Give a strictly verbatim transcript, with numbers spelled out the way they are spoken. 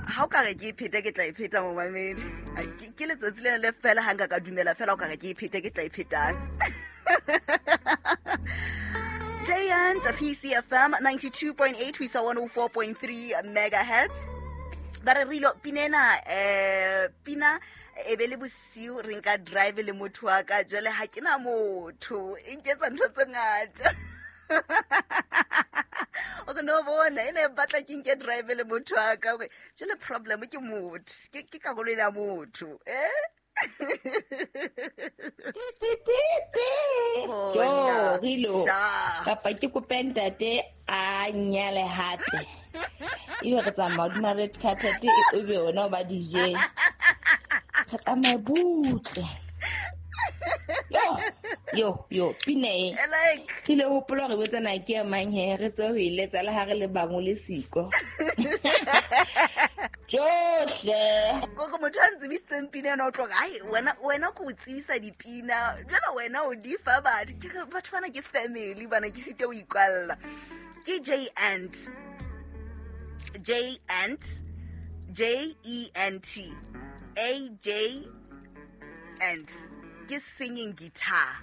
Ha o ka re ke e phete, ke tla e pheta, momamedi. Ai, ke ke letsatsi lena le fela ha nka ka dumela fela o ka re ke e phete, ke tla e phetang. J N P C F M ninety-two point eight ho isa one oh four point three megahertz. Ba re re ilo pina ena, eh pina e be le bosiu re nka drive le motho wa ka. Jwale ha ke na motho, e nketsa ntho tse ngata. O re no bona e ne e batla ke nke drive le motho wa ka. Hore jwale problem ke motho, ke ke karolo ena ya motho, eh. Jo. Bona, Rilo. Sha. Kapa ke kope ntate a nyale hape, ebe re tsamaya hodima red carpet, e be ona o ba D J, re tsamaye butle. Yo yo yo, pina e. I like. Re ile hopola hore betsana ke ya mang he, re tswe ho e letsa le ha re le bangwe le siko tjohle. Koko motho a ntsebisitseng pina ena o tlo re ai, wena wena ko o tsebisa dipina, jwale wena o di fa batho. Ke re batho bana ke family bana, ke site o ikwalla. Ke J and J and J E N T A J and ke singing guitar.